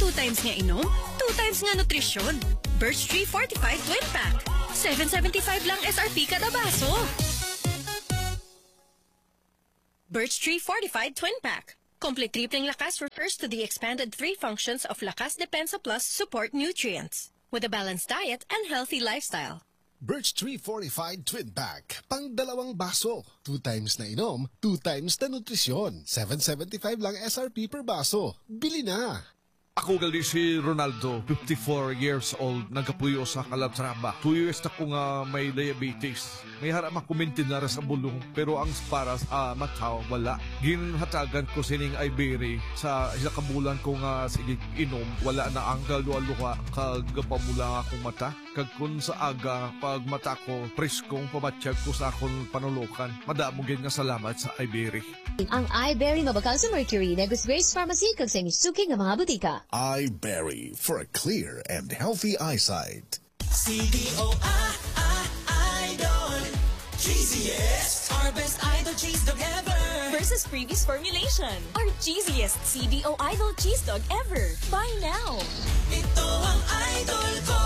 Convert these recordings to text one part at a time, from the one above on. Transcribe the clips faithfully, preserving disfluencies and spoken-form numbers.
Two times nga inom, two times nga nutrisyon. Birch Tree Fortified Twin Pack. Seven seventy-five lang S R P kada baso. Birch Tree Fortified Twin Pack. Complete tripling lakas refers to the expanded three functions of Lakas Depensa Plus support nutrients with a balanced diet and healthy lifestyle. Birch Tree Fortified Twin Pack. Pang dalawang baso. Two times na inom, two times na nutrisyon. Seven seventy-five lang S R P per baso. Bili na! Ako gali si Ronaldo, fifty-four years old, nagapuyo sa Calatrava. Two years na ko nga may diabetes. May hara makumintinara sa bulong, pero ang para sa mata, wala. Ginhatagan ko sining Iberry sa isa ka bulan ko nga sige inom, wala na ang kaluha-luha kag pamula akong mata. Kag kun sa aga, pag mata ko, preskong pabatyag ko sa akon panulokan. Madamo gid nga salamat sa Iberry. Ang Iberry mabakal sa Mercury, Negros Grace Pharmacy, kag sa inyo suki nga mga butika. Iberry for a clear and healthy eyesight. C D O I, I, Idol. Cheesiest. Our best Idol cheese dog ever. Versus previous formulation. Our cheesiest C D O Idol cheese dog ever. Buy now. Ito ang idol ko.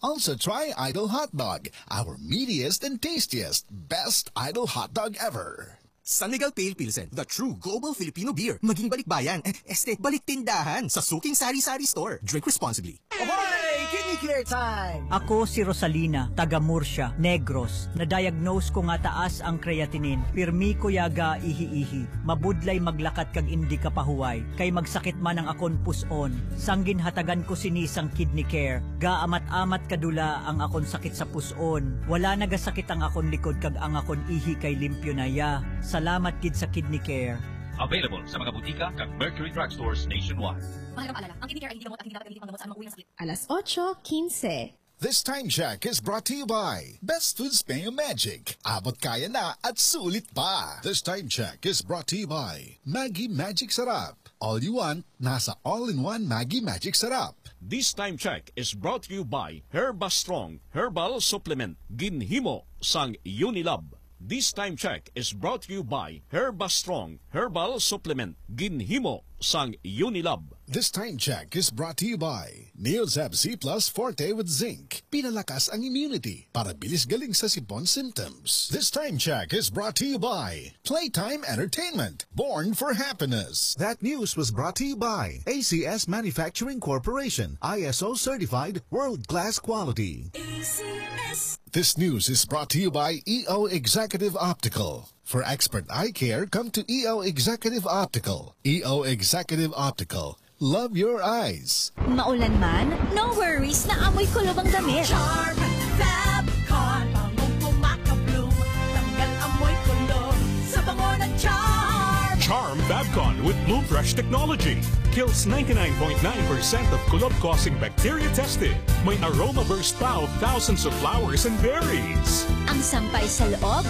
Also try Idol Hotdog, our meatiest and tastiest, best Idol Hotdog ever. San Miguel Pale Pilsen, the true global Filipino beer. Maging balikbayan, eh, este, balik tindahan sa suking sari-sari store. Drink responsibly. Oy! Kidney Care Time! Ako si Rosalina, taga Murcia, Negros. Na-diagnose ko nga taas ang creatinine. Pirmi ko ya ga ihi-ihi. Mabudlay maglakat kag indi kapahuway, kay magsakit man ang akon pus-on. Sang ginhatagan ko sini sang Kidney Care, gaamat-amat kadula ang akon sakit sa pus-on. Wala nagasakit ang akon likod kag ang akon ihi kay limpyo na ya. Salamat gid sa Kidney Care. Available sa mga butika kag Mercury Drugstores nationwide. Mahalagang paalala, ang Kidney Care ay hindi gamot at hindi dapat gamitin panggamot sa anumang uri ng sakit. Alas otso quince. This time check is brought to you by Best Foods Mayo Magic. Abot kaya na at sulit pa. This time check is brought to you by Maggi Magic Sarap. All you want, nasa all-in-one Maggi Magic Sarap. This time check is brought to you by Herba Strong Herbal Supplement, ginhimo sang Unilab. This time check is brought to you by Herba Strong Herbal Supplement, ginhimo sang Unilab. This time check is brought to you by Neozep Z Plus Forte with Zinc. Pinalakas ang immunity para bilis galing sa sipon symptoms. This time check is brought to you by Playtime Entertainment, born for happiness. That news was brought to you by A C S Manufacturing Corporation, I S O certified, world-class quality. A C S. This news is brought to you by E O Executive Optical. For expert eye care, come to E O Executive Optical. E O Executive Optical. Love your eyes. Maulan man, no worries, naamoy kulob ang damit. Charm Fab Con, bangong kumakabloom, tanggal amoy kulob sa bango ng Charm. Charm Fab Con with Bloom Fresh technology kills ninety-nine point nine percent of kulob-causing bacteria tested. May aroma burst pa of thousands of flowers and berries. Ang sampay sa loob,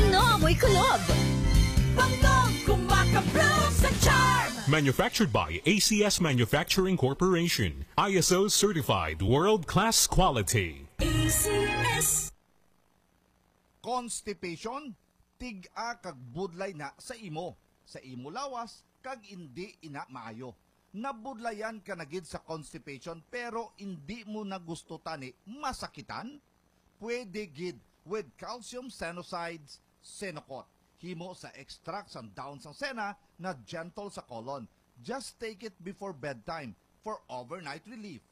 no amoy kulob. Bangong kumakabloom sa Charm. Manufactured by A C S Manufacturing Corporation, I S O certified, world-class quality. A C S. Constipation, tig-a kag budlay na sa imo, sa imo lawas, kag indi ina maayo. Nabudlayan ka na gid sa constipation pero indi mo na gusto tani masakitan? Pwede gid with calcium senosides, Senocot. Himo sa extract sang dahon sang sena na gentle sa colon. Just take it before bedtime for overnight relief.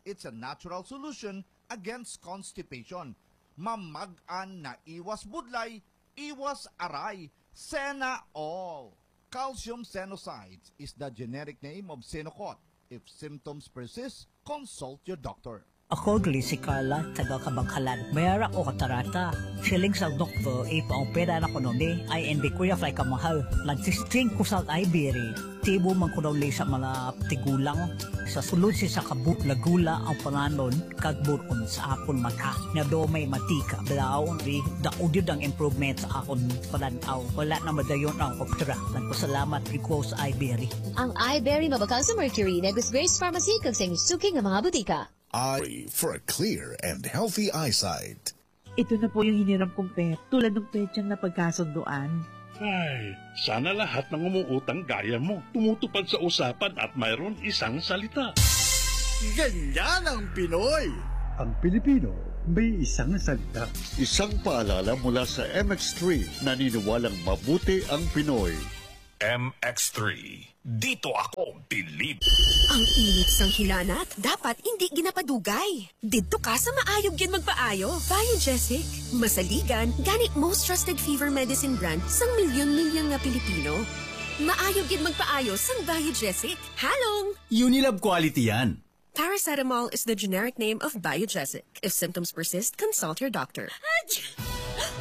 It's a natural solution against constipation. Mamag-an na iwas budlay, iwas aray, Sena all. Calcium Senosides is the generic name of Senocot. If symptoms persist, consult your doctor. Ako gali si Carla, taga Kabanghalan. May ara ko katarata. Siling sa doktor, ipaopera na kuno ni, ay hindi ko ya fly kamahal. Nagsisting ko sa Iberia. Tibo man kuno ni sa mga tigulang. Sa sulod si sa kabuk lagula ang panganon kag buron sa akon mata. Nga daw may matika, blaon ri, daod yun ang improvement sa akon panan-aw. Wala na madayon ang opera. Nagpasalamat ko sa Iberia. Ang Iberia mabakal sa Mercury, Negros Grace Pharmacy, kag sa inyong suki nga mga butika. Eye for a clear and healthy eyesight. Ito na po yung hiniram kong pet, tulad ng petsang napagkasunduan. Ay, sana lahat ng umuutang gaya mo, tumutupad sa usapan at mayroon isang salita. Ganyan ang Pinoy! Ang Pilipino may isang salita. Isang paalala mula sa M X three, naniniwalang mabuti ang Pinoy. M X three. Dito ako bilib. Ang init sang hilanat, dapat hindi ginapadugay. Didto ka sa maayog gid magpaayo, Biogesic. Masaligan, gani most trusted fever medicine brand sang milyon-milyon nga Pilipino. Maayog gid magpaayo sang Biogesic. Halong! Unilab quality yan. Paracetamol is the generic name of Biogesic. If symptoms persist, consult your doctor. Ach!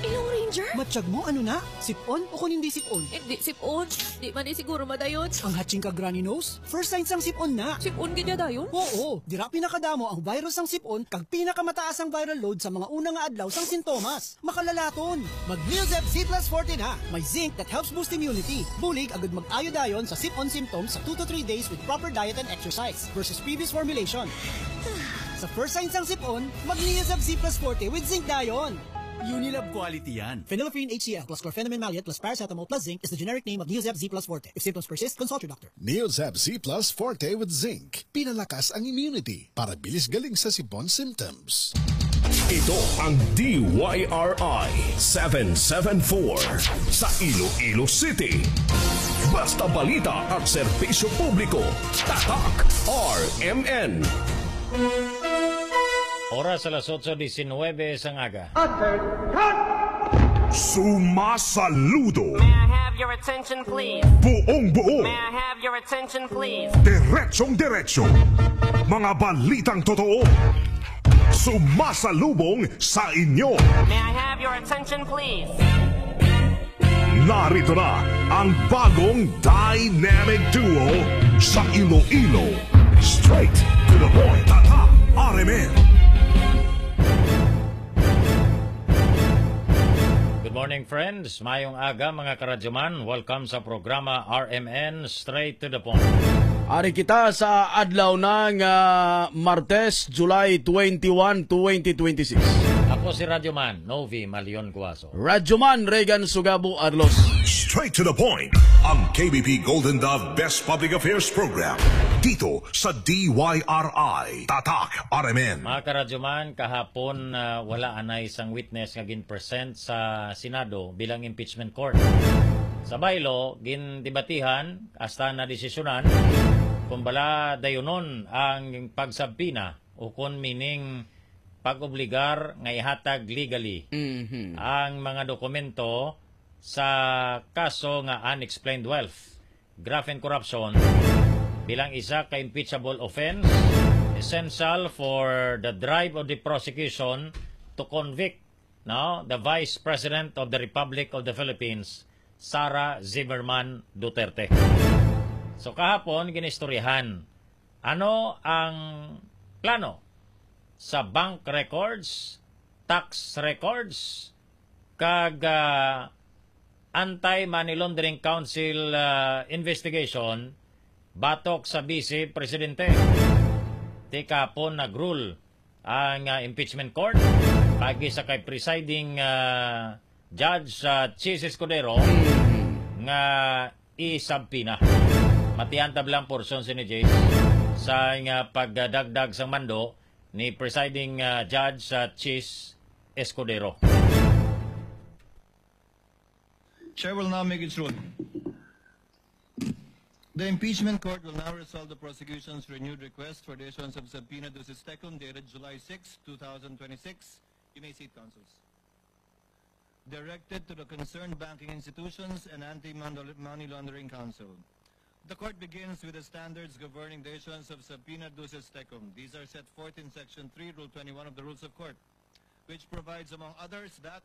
Ilong Ranger? Matyag mo, ano na? Sipon o kung hindi sipon? Hindi sipon. Di man ni siguro madayon. Ang hatching kag runny nose? First sign sang sipon na. Sipon gid ya dayon? Oo, dira pinakadamo ang virus sang sipon kag pinakamataas ang viral load sa mga una nga adlaw sang sintomas. Makalalaton. Mag Neozep Z plus forte na. May zinc that helps boost immunity. Bulig agud mag-ayo dayon sa sipon symptoms sa two to three days with proper diet and exercise versus previous formulation. Sa first sign sang sipon, mag Neozep Z plus forte with zinc dayon. Unilab quality yan. Phenylephrine H C L plus chlorphenamine maleate plus paracetamol plus zinc is the generic name of Neozep Z plus forte. If symptoms persist, consult your doctor. Neozep Z plus forte with zinc. Pinalakas ang immunity para bilis galing sa sipon symptoms. Ito ang D Y R I seven seven four sa Iloilo City. Basta balita at serbisyo publiko, Tatak R M N. Oras alas otso diecinuebe sang aga. Sumasaludo. May I have your attention, please? Buong buo. May I have your attention, please? Diretsong diretso. Mga balitang totoo. Sumasalubong sa inyo. May I have your attention, please? Narito na ang bagong dynamic duo sa Iloilo. Straight to the point. Tatak R M N. Good morning, friends. Mayong aga, mga karadyoman. Welcome sa programa R M N Straight to the Point. Ari kita sa adlaw na nga Martes, July twenty-one, twenty twenty-six. Ako si Radyoman Novi Malion Cuaso. Radyoman Regan Sugabo Arlos. Straight to the point. Ang K B P Golden Dove Best Public Affairs Program. Dito sa D Y R I. Tatak R M N. Mga karadyoman, kahapon, ah, wala anay sang witness nga gin-present sa Senado bilang impeachment court. Sa baylo, gindebatihan hasta nadesisyonan kung bala dayunon ang pagsabpina o kon meaning pag-obligar nga ihatag legally Mhm. ang mga dokumento sa kaso nga unexplained wealth, graft and corruption bilang isa ka impeachable offense essential for the drive of the prosecution to convict, no, the Vice President of the Republic of the Philippines, Sara Zimmerman Duterte. So kahapon, ginistoryahan ano ang plano sa bank records, tax records, kag, ah, Anti-Money Laundering Council, ah, investigation batok sa Vice Presidente. Ti kahapon nag-rule ang, ah, impeachment court paagi sa kay presiding, ah, judge sa Chiz Escudero nga isabpina. Matian ta bala ang portion sini, Jace, sa nga pagdagdag sang mando ni presiding, ah, judge sa Chiz Escudero. Chair will now make its ruling. The impeachment court will now resolve the prosecution's renewed request for the issuance of subpoena ducis tecum dated July six, two thousand twenty-six. You may seat, counsels. Directed to the concerned banking institutions and anti-money laundering council. The court begins with the standards governing the issuance of subpoena ducis tecum. These are set forth in Section three, Rule twenty-one of the Rules of Court, which provides, among others, that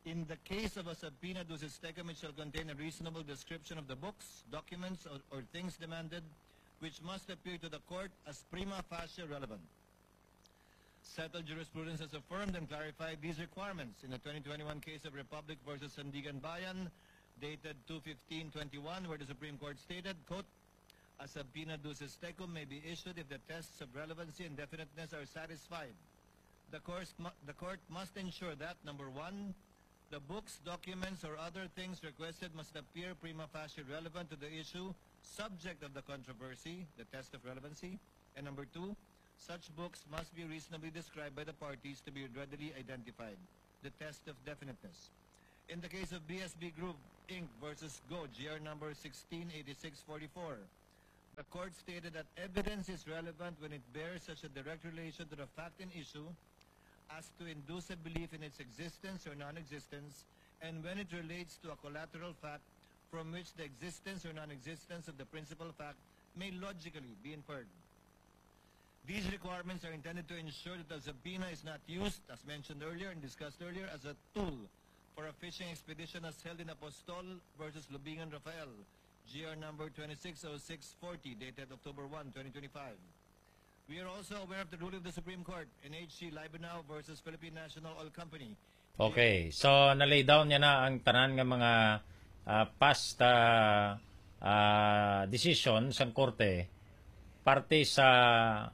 in the case of a subpoena ducis tecum, it shall contain a reasonable description of the books, documents, or, or things demanded, which must appear to the court as prima facie relevant. Settled jurisprudence has affirmed and clarified these requirements in the twenty twenty-one case of Republic versus Sandiganbayan, dated two fifteen twenty-one, where the Supreme Court stated, quote, "A subpoena ducis tecum may be issued if the tests of relevancy and definiteness are satisfied. The course mu-, the court must ensure that, number one, The books, documents, or other things requested must appear prima facie relevant to the issue subject of the controversy, the test of relevancy. And number two, such books must be reasonably described by the parties to be readily identified, the test of definiteness. In the case of B S B Group, Inc versus Go, G R number sixteen eighty-six forty-four, the court stated that evidence is relevant when it bears such a direct relation to the fact in issue as to induce a belief in its existence or non-existence, and when it relates to a collateral fact from which the existence or non-existence of the principal fact may logically be inferred. These requirements are intended to ensure that the subpoena is not used, as mentioned earlier and discussed earlier, as a tool for a fishing expedition as held in Apostol versus Lubingan Rafael, G R number twenty-six oh six forty, dated October one, twenty twenty-five. We are also aware of the ruling of the Supreme Court in H C Libenau versus Philippine National Oil Company. Okay, so na-lay down niya na ang tanan nga mga, ah, past, ah, ah, decision sang korte parte sa,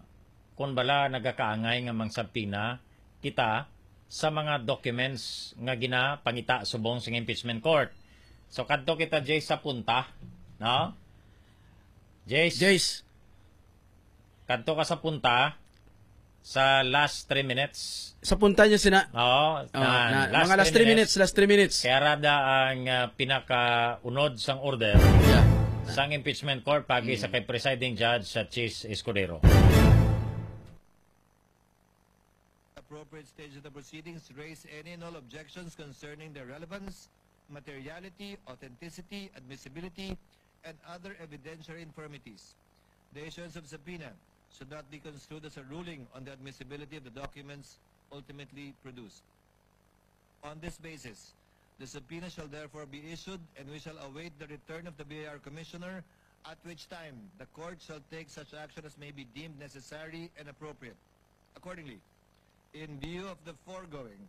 kun bala, nagakaangay nga mangsubpoena kita sa mga documents nga ginapangita subong sa impeachment court. So kadto kita, Jay, sa punta, no? Jace, Jace, kadto ka sa punta sa last three minutes. Sa punta niya sina. Oo, Oh, na, na, last mga last three three minutes. Minutes, last three minutes. Kaya rada ang, ah, pinakaunod sang order Yeah. sang impeachment court pagi sa Mm. kay Presiding Judge sa Chiz Escudero. Appropriate stage of the proceedings, raise any and all objections concerning the relevance, materiality, authenticity, admissibility, and other evidentiary infirmities. The issuance of subpoena should not be construed as a ruling on the admissibility of the documents ultimately produced. On this basis, the subpoena shall therefore be issued, and we shall await the return of the B I R commissioner, at which time the court shall take such action as may be deemed necessary and appropriate. Accordingly, in view of the foregoing,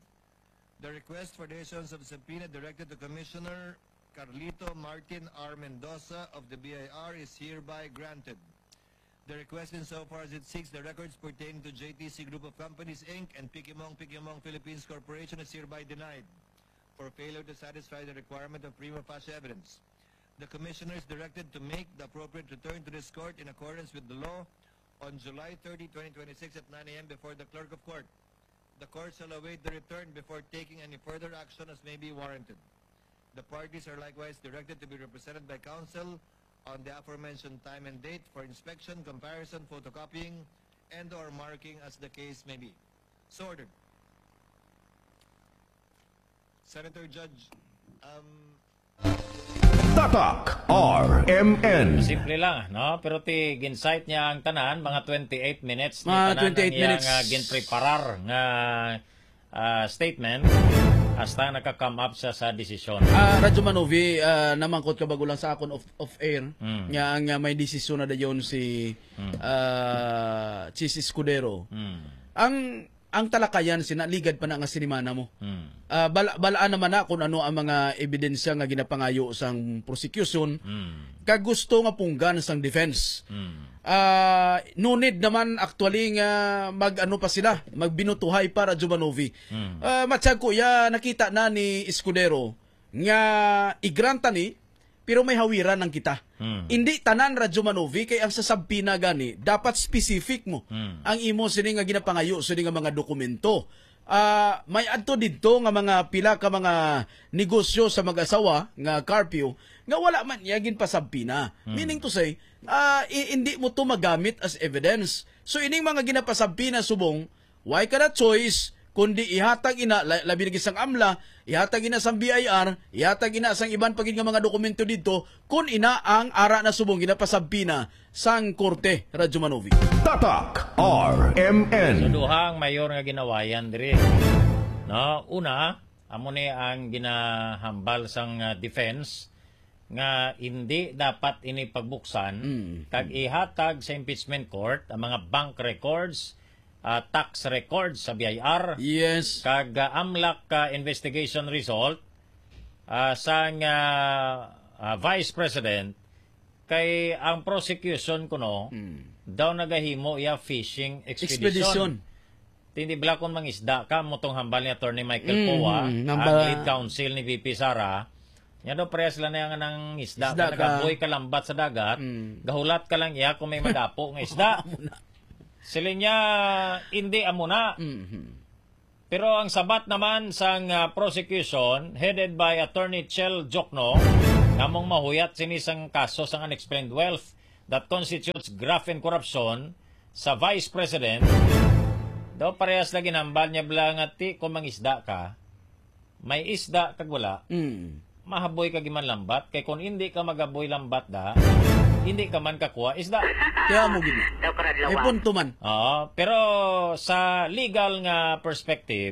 the request for the issuance of subpoena directed to Commissioner Carlito Martin R. Mendoza of the B I R is hereby granted. The request, insofar as it seeks the records pertaining to J T C Group of Companies, Inc and Pikimong Pikimong Philippines Corporation, is hereby denied for failure to satisfy the requirement of prima facie evidence. The Commissioner is directed to make the appropriate return to this court in accordance with the law on July thirty, twenty twenty-six, at nine a m before the Clerk of Court. The court shall await the return before taking any further action as may be warranted. The parties are likewise directed to be represented by counsel on the aforementioned time and date for inspection, comparison, photocopying, and or marking as the case may be. So ordered. Senator Judge, um, Tatak R M N. Simple lang, no? Pero ti gin-cite niya ang tanan, mga twenty-eight minutes ni Mga tanan ang twenty-eight iyang, minutes. ah, ginpreparar nga, ah, statement hasta naka-come up siya sa desisyon. Ah, Radyo Manovi, ah, namangkot ka bago lang sa akon off, off air, Mm. nga ang, ah, may desisyon na dayon si, Mm. ah, Chiz Escudero. Mm. Ang ang talakayan sina ligad pa na nga sinimana mo. Hmm. Ah, bala, balaan naman na kung ano ang mga ebidensya nga ginapangayo sang prosecution Hmm. kag gusto nga punggan sang defense. Hmm. Ah, no need naman actually nga mag-ano pa sila, magbinutuhay pa, Radyo Manovi. Hmm. Ah, matsyag ko, ya, nakita na ni Escudero nga i-grant ta ni, pero may hawiran lang kita. Hmm. Hindi tanan, Radyo Manovi, kay ang sa subpoena gani, dapat specific mo Hmm. ang imo sini nga ginapangayo, sini nga mga dokumento. Ah, may adto didto nga mga pila ka mga negosyo sa mag-asawa nga curfew nga wala man niya ginpasubpoena. Hmm. Meaning to say, ah, i-, hindi mo to magamit as evidence. So, ining mga ginapasubpoena subong, why ka na choice, kundi ihatag ina, la-, labi lagi sang amla, ihatag ina sang B I R, ihatag ina sang iban pa gid nga mga dokumento didto, kun ina ang ara na subong ginapasabpina sang korte, Radyo Manovi. Tatak R M N. So, duha ang mayor nga ginawayan diri. No, una, amo ni ang ginahambal sang, ah, defense nga hindi dapat ini pagbuksan Mm. kag ihatag sa impeachment court ang mga bank records, ah, tax records sa B I R, Yes. kag, ah, amlak, ah, investigation result, ah, sang, ah, ah, Vice President, kay ang prosecution kuno Mm. daw nagahimo iya fishing expedition. Expedition. Tindi bala kung mangisda ka, mo tong hambal ni Attorney Michael Mhm, Poa, namba- ang lead counsel ni V P Sara. Nya daw, parehas lang na nga nangisda Isda ka, ka. nagaboy ka lambat sa dagat, Mm. gahulat ka lang iya kung may madapo nga isda. Amo na. Siling niya, "Hindi, amo na." Mhm. Pero ang sabat naman sang, ah, prosecution, headed by Attorney Chel Jokno, nga among mahuyat sini sang kaso sang unexplained wealth that constitutes graft and corruption sa Vice President, daw parehas na ginambal niya bala nga ti kung mangisda ka, may isda kag wala, Mm. mahaboy ka giman lambat, kay kung hindi ka magaboy lambat da, hindi ka man kakuha isda. Kaya mo gid. Daw karadlawan. May punto man. Oo, pero sa legal nga perspective,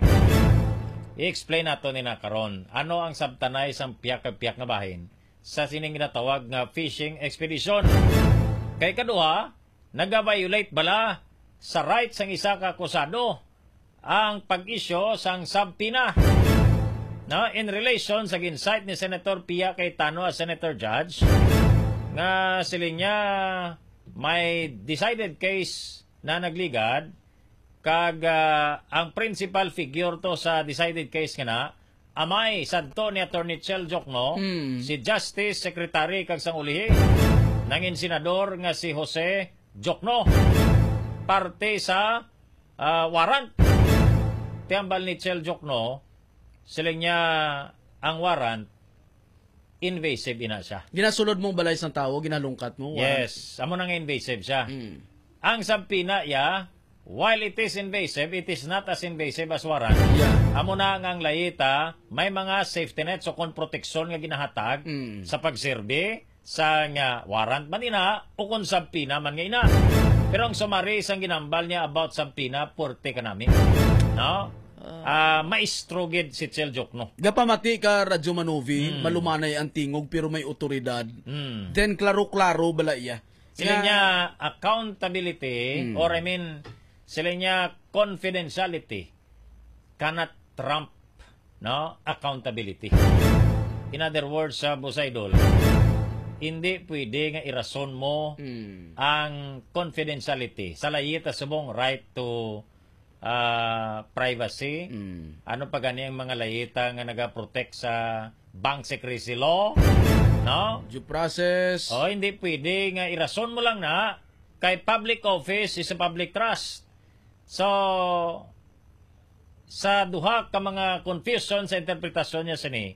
i-explain nato ni na karon. Ano ang sabtanay sang piyak ka piyak nga bahin sa sining ginatawag nga fishing expedition? Kay kaduha, naga-violate bala sa rights sang isa ka akusado ang pag-issue sang subpoena, no, in relation sa gin-cite ni Senator Pia Cayetano as Senator Judge, nga siling niya may decided case na nagligad, kag, ah, ang principal figure to sa decided case nga na, amay sadto ni Attorney Chel Jokno, Hmm. si Justice Secretary kag sang ulihi, nangin senador nga si Jose Jokno, parte sa, ah, warrant. Ti hambal ni Chel Jokno, siling niya ang warrant, invasive ina siya. Ginasulod mong balay sang tawo, ginalungkat mo, warrant. Yes, amo na nga invasive siya. Mm. Ang subpoena, ya, while it is invasive, it is not as invasive as warrant. Yeah. Amo na nga ang layita, may mga safety net, so kon proteksyon nga ginahatag Mm. sa pagserbi sa nga warrant man ina o kon subpoena man nga ina. Pero ang summary sang ginambal niya about subpoena, puwerte kanami. No? Ah, maestro gid si Chel Jokno. Gapamati ka, Radyo Manovi, Mm. malumanay ang tingog pero may otoridad. Mm. Then, klaro-klaro bala iya. Sila Nga niya accountability, Mm. or I mean, sila niya confidentiality cannot trump, no, accountability. In other words, sa Boss Idol, hindi pwede nga irason mo Mm. ang confidentiality sa layita subong right to ah, privacy. Mm. Ano pa gani ang mga layita nga nagaprotect sa bank secrecy law? No? Due process. O, hindi pwede nga irason mo lang na kay public office is a public trust. So, sa duha ka mga confusion sa interpretasyon niya sini,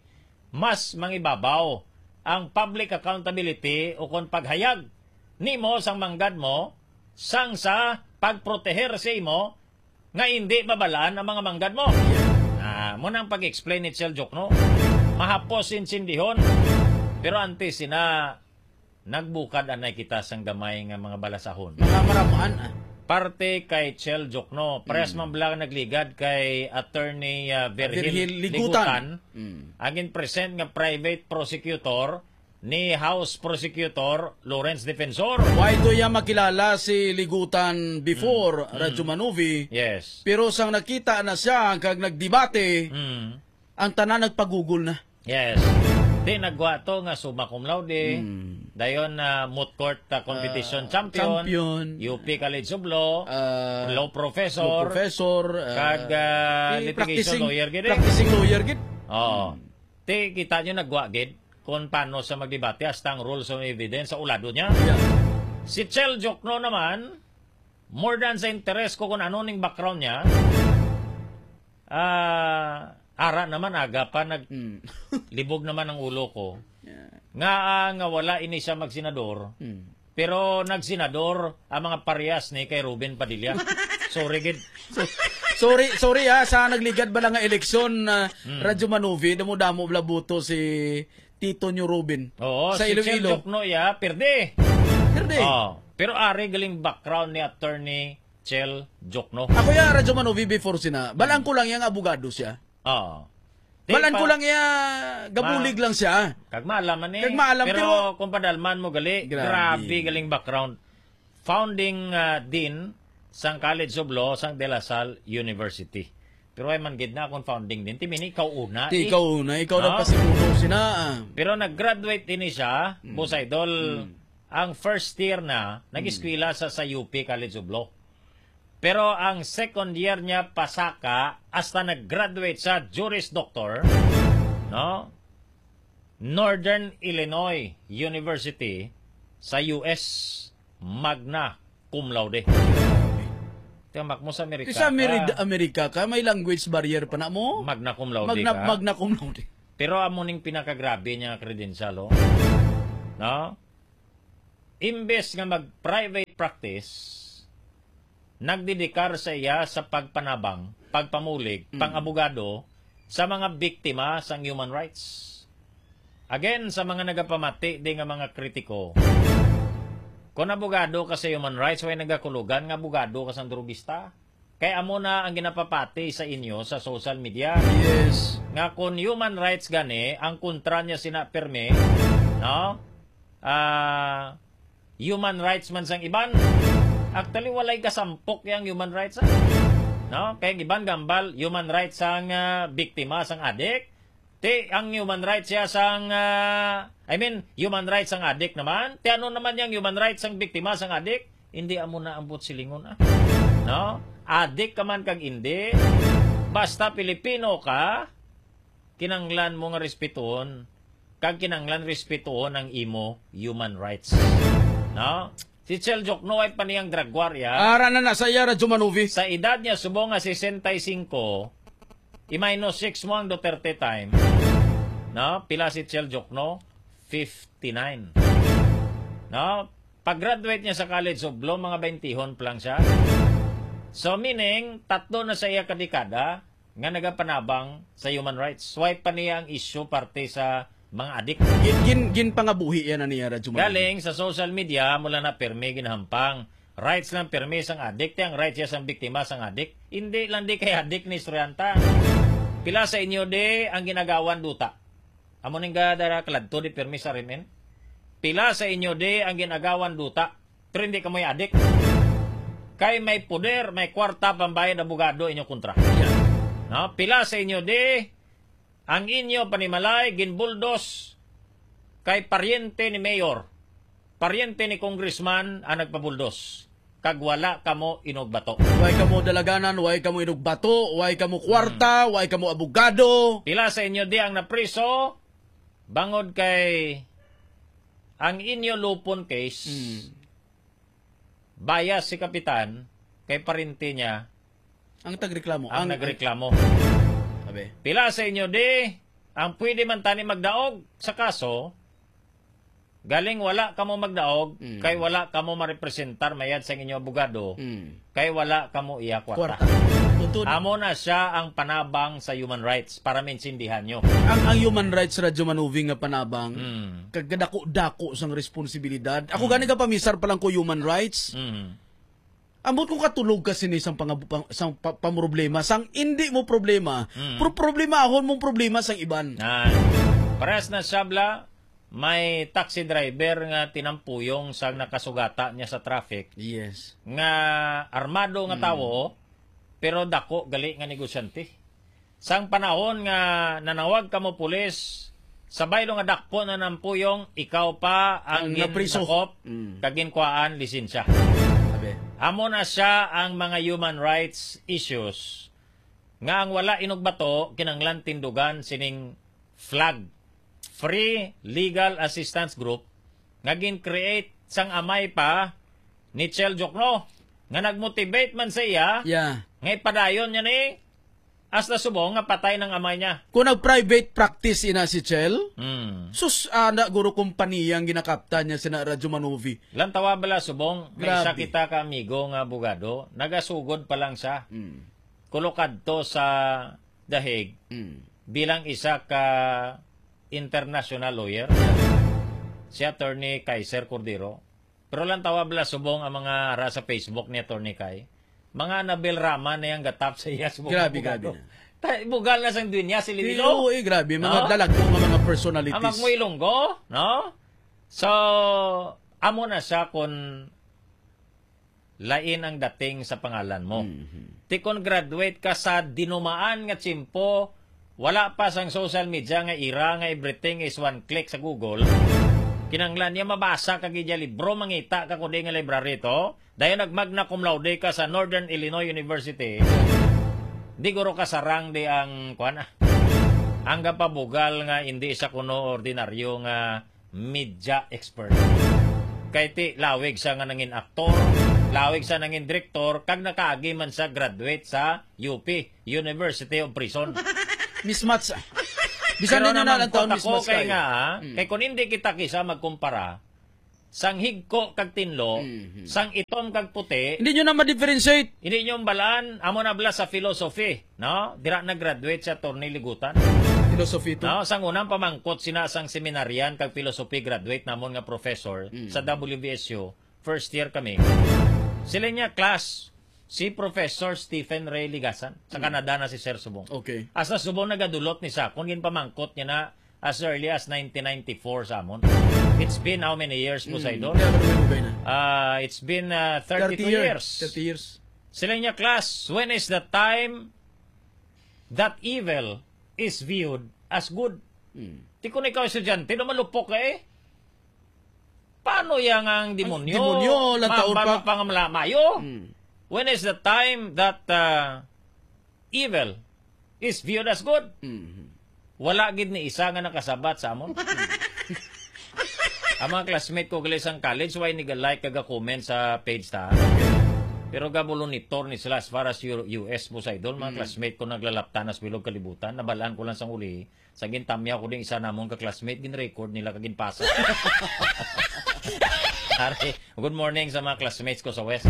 mas mangibabaw ang public accountability o kon paghayag nimo sang manggad mo sang sa pagproteher sa imo nga hindi mabalaan ang mga manggad mo. Ah, mo nang pag-explain ni Chel Jokno. Mahapos insindihon. Pero antes sina, nagbukad anay kita sang gamay nga mga balasahon. Mga maramaan, ah. Parte kay Chel Jokno. Parehas Mm. man bala nagligad kay Attorney, ah, Virgil Virgil Ligutan. Ligutan. Mm. Ang in-present nga private prosecutor ni House Prosecutor Lawrence Defensor. Way to iya makilala si Ligutan before, Mm. Radyo Mm. Manuvi. Yes. Pero sang nakita na siya kag nagdebate, Mm. ang tanan nagpagugol na. Yes. Di nagwa to nga summa cum laude. Mm. Dayon na moot court, ah, competition Ah, champion, champion. U P College of Law, Ah, law professor, law professor, ah, kag, ah, di litigation practicing, lawyer gid eh. Practicing lawyer gid. Oo. Mm. Ti, kita nyo nagwa gid kung paano sa magdebate, hasta ang rules of evidence sa ulado niya. Yeah. Si Chel Jokno naman, more than sa interes ko kung ano ning background niya, ah, ara naman, aga pa, nag-, Mm. libog naman ang ulo ko. Yeah. Nga, ah, nga wala ini siya magsenador, Mm. pero nagsenador ang mga parehas ni kay Robin Padilla. Sorry, gid. So, sorry, sorry, ha, sa nagligad bala nga eleksyon, ah, Hmm. Radyo Manuvi, damo-damo bala boto si Tito New Robin. Oo, Sa si Chel Iloilo. Jokno, ya, perde. Perde. Oh, pero ari galing background ni Attorney Chel Jokno. Ako ya, Radyo Manuvi before sina. Balaan ko lang yang abogado siya. Oo. Di Balaan pa ko lang iya, gabulig Ma-, lang siya. Kag maalam man eh. Kag maalam, Pero pero kung padalman mo gali, Grabe. grabe galing background. Founding, ah, dean sang College of Law sang De La Salle University. Pero ay man gid na akong founding dean. Ti mini ikaw una Ti eh. ikaw una, ikaw No? nagpasimuno sina, ah. Pero nag-graduate ini siya, Mm. Boss Idol, Mm. ang first year na, nag-eskwela sa, sa U P College of Law. Pero ang second year niya pasaka, hasta nag-graduate sa Juris Doctor, no? Northern Illinois University sa U S, magna cum laude. Tiyamak mo sa Amerika Sa Ameri- ka, Amerika ka, may language barrier pa na mo? Magna cum laude Magna, ka. Magna cum laude. Pero amo ning pinakagrabe niya nga credential, oh. No? Imbes nga mag-private practice, nagdedikar sa iya sa pagpanabang, pagpamulig, Mm. pang-abogado sa mga biktima sang human rights. Again, sa mga nagapamati di nga mga kritiko, kung abogado ka sa human rights, way nagakulugan nga abogado ka sang drugista. Kay amo na ang ginapapati sa inyo sa social media. Yes. Nga kung human rights gani, ang kontra niya sina pirmi, no? Ah, human rights man sang iban. Actually, walay kasampok yang human rights, ah. No? Kay ang iban gambal, human rights sang, ah, biktima, sang adik. Ti, ang human rights siya sang, ah, I mean, human rights sang adik naman. Ti, ano naman yang human rights sang biktima, sang adik? Hindi amo na ang buot silingon, ah. No? Adik ka man kag hindi, basta Pilipino ka, kinanglan mo nga respetuhon, kag kinanglan respetuhon ang imo human rights. No? Si Chel Jokno, way pa niyang drag war, ya. Ara na na sa iya, Radyo Manuvi. Sa edad niya, subong nga sesenta y cinco, i-minus six mo ang Duterte time. No? Pila si Chel Jokno? Fifty-nine. No? Pag-graduate niya sa College of Law, mga baintihon pa lang siya. So, meaning, tatlo na sa iya ka dekada nga nagapanabang sa human rights. Way pa niya ang issue parte sa mga adik. Gin, gin, ginpangabuhi yan na niya, Radyo Manuel. Galing sa social media, mula na pirmi ginahampang. Rights lang pirmi sang adik, ti ang rights siya sang biktima sang adik. Hindi lang di kay adik ni estudyanta. Pila sa inyo di ang ginagawan duta? Amo ning ga-, dara kaladto di pirmi sa R M N. Pila sa inyo di ang ginagawan duta? Pero hindi kamoy adik. Kay may poder, may kwarta, pambayad abogado inyo kontra. Yeah. No? Pila sa inyo di ang inyo panimalay ginbuldos kay paryente ni mayor, paryente ni congressman ang nagpabuldos, kag wala kamo inugbato. Way kamo dalaganan, way kamo inugbato, way kamo kwarta, Hmm. way kamo abogado. Pila sa inyo di ang napriso bangod kay ang inyo lupon case? Hmm. Bias si Kapitan kay paryente niya Ang tagreklamo. ang Ang, nagreklamo. Sabi. Pila sa inyo di ang pwede man tani magdaog sa kaso? Galing wala kamo magdaog, Mm. kay wala kamo marepresentar mayad sa inyo abogado, Mm. kay wala kamo iya kwarta. Kwarta. Tuntun. Amo na siya ang panabang sa human rights para maintindihan nyo. Ang, ang human rights, Radyo Manuvi, nga panabang, Mm. kag kadako-dako sang responsibilidad. Ako Mm. gani ka pamisar pa lang ko human rights. Mm. Ambot ko katulog ka sini sang pangab-, pang-, sang pa-, pamroblema, sang indi mo problema, Mm. pro-, problemahon mong problema sang iban. Ah, parehas na siya, bla, may taxi driver nga tinampuyong sang nakasugata niya sa traffic. Yes. Nga armado nga Mm. tawo, pero dako gali nga negosyante. Sang panahon nga nanawag kamo pulis, sa baylo nga dakpon na nampuyong, ikaw pa ang Ang gin-, napriso. Dakop, Mm. kag ginkuhaan lisensya. Sabi. Amo na siya ang mga human rights issues nga ang wala inugbato kinanglan tindugan sining FLAG, Free Legal Assistance Group, nga gin-create sang amay pa ni Chel Jokno, nga nag-motivate man sa iya, Yeah. nga ipadayon niya ni hasta subong nga patay ng amay niya. Kung nag-private practice ina si Chel, Hmm. sus, ana, guro, kompaniya ang ginakaptan niya sina Radyo Manuvi. Lantawa bala subong, may isa Grabe. kita ka amigo nga abogado, nagasugod pa lang siya. Hmm. Kulo kadto sa The Hague Hmm. bilang isa ka international lawyer, si Attorney Kaiser Cordero. Pero lantawa bala subong ang mga ara sa Facebook ni Attorney Kai. Mga Anabel Rama na yang gatap sa iya subong Grabe, abogado. grabe na. Ta-, bugal na sang dunya si Lililo. Oo, eh, grabe. Mga No? dalagko nga mga personalities. Ang magmuilonggo, no? So, amo na siya kung lain ang dating sa pangalan mo. Mhm. Ti kon graduate ka sa dinumaan nga tiyempo, wala pa sang social media nga era nga everything is one click sa Google, Kinahanglan niya mabasa ka gid ya libro, mangita ka kundi nga library to. Dayon nag-magna cum laude ka sa Northern Illinois University. Di guro ka sarang di ang, kuwan, ah. Ang gapabugal nga hindi siya kuno ordinaryo nga media expert. Kay ti, lawig siya nga nangin aktor, lawig siya nangin direktor, kag nakaagi man siya graduate sa U P, University of Prison. Mismatch. Bisan Pero din yun na lang namangkot taon, ako mismatch kay kayo. nga, ha? Mm. Kay kung hindi kita kisa magkumpara, sang higko kag tinlo, Mhm. sang itom kag puti, Hindi nyo na ma-differentiate. hindi nyo balaan, amo na bala sa philosophy, no? Dira nag-graduate sa Attorney Ligutan. Philosophy to. No, sang unang pamangkot sina sang seminarian kag philosophy graduate namon nga professor Mm. sa W V S U, first year kami. Sila niya class, si Professor Stephen Ray Ligasan, sa Mm. Canada na si Sir Subong. Okay. Asa Subong nagadulot ni sa, kung ginpamangkot niya na as early as nineteen ninety-four sa amon. It's been how many years po sa Mm. idol? Kaya ba naman lugay na? Ah, it's been uh, thirty-two years. years. Thirty years. Sila niya class, when is the time that evil is viewed as good? Mm. Ti kung ikaw estudyante, no, malupok ka eh. Paano yang ang demonyo? Demonyo, lang taon Mambal pa. Mapangamla-, mayo? Mm. When is the time that uh, evil is viewed as good? Mm. Wala gid ni isa nga nakasabat sa amon. Ang mga classmate ko gali sang college, why niga-like kag comment sa page ta? Pero gabulonitor ni sila as far as U- U S po sa idol. Mga Mm. classmate ko naglalaptan sa bilog kalibutan. Nabalaan ko lang sang uli. Sa gintamyaw ko ding isa namon ka classmate, gin-record nila kag ginpasa. Ari, good morning sa mga classmates ko sa West.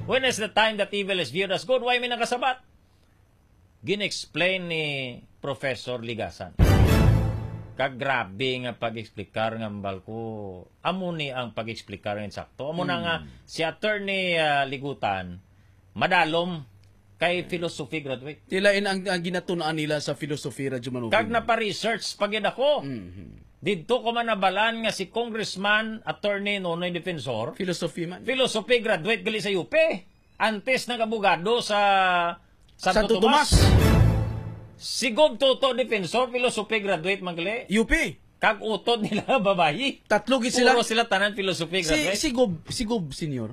When is the time that evil is viewed as good? Why may nakasabat? Gin-explain ni Professor Ligasan. Kag grabe nga pag-explicar nga hambal ko. Amo ni ang pag-explicar nga insakto. Amo na Mm. nga si Attorney ah, Ligutan, madalom kay philosophy graduate. Tila in ang, ang ginatun-an nila sa philosophy, Radyo Manugin. Kag napa-research pa gid ako. Mhm. Didto ko man nabalaan nga si Congressman Attorney Nonoy Defensor, Philosophy man. philosophy graduate gali sa U P. Antes nag-abogado sa Santo, Santo Tomas. Tomas. Si Gob Toto Defensor, philosophy graduate man gali. U P. Kag utod nila babayi. Tatlo gid sila. Puro sila tanan philosophy Si, graduate. si Gob, si Gob Senior.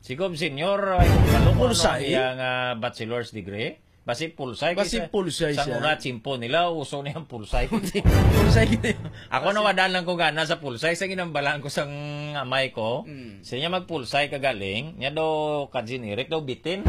Si Gob Senior, ay kung kaloko Pulsay? Iya nga bachelor's degree. Basi pulsay. Basi Kay sa- pulsay sa siya. Una, tsimpo nila, uso na yung pulsay. Pulsay gid. Ako nawadaan lang ko gana sa pulsay. Sa ginambalaan ko sang amay ko, Mm. siya niya magpulsay ka galing. Niya daw, Kajin Eric, daw bitin.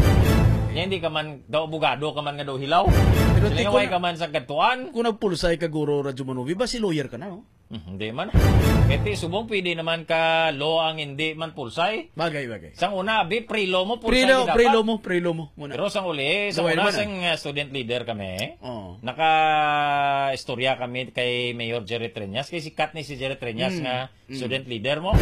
Niya hindi ka man, daw abogado ka man nga daw hilaw. Pero Sila ti nga ko way na- ka man sa kadtuan. Kung nagpulsay ka, Guro Radyo Manugin, basi lawyer ka na, no? Hmm, hindi man. Kaya ti, subong pwede naman ka law ang hindi man pulsay. Bagay, bagay. Sang una, abi, pre-law mo, pulsay Pre-law, gid dapat. pre-law mo, pre-law mo. Muna. Pero sang uli, sa Gawin una, mo na. sang uh, student leader kami, Oh. naka-istorya kami kay Mayor Jerry Treñas. Kay sikat ni si Jerry Treñas Mm, nga mm. student leader mo.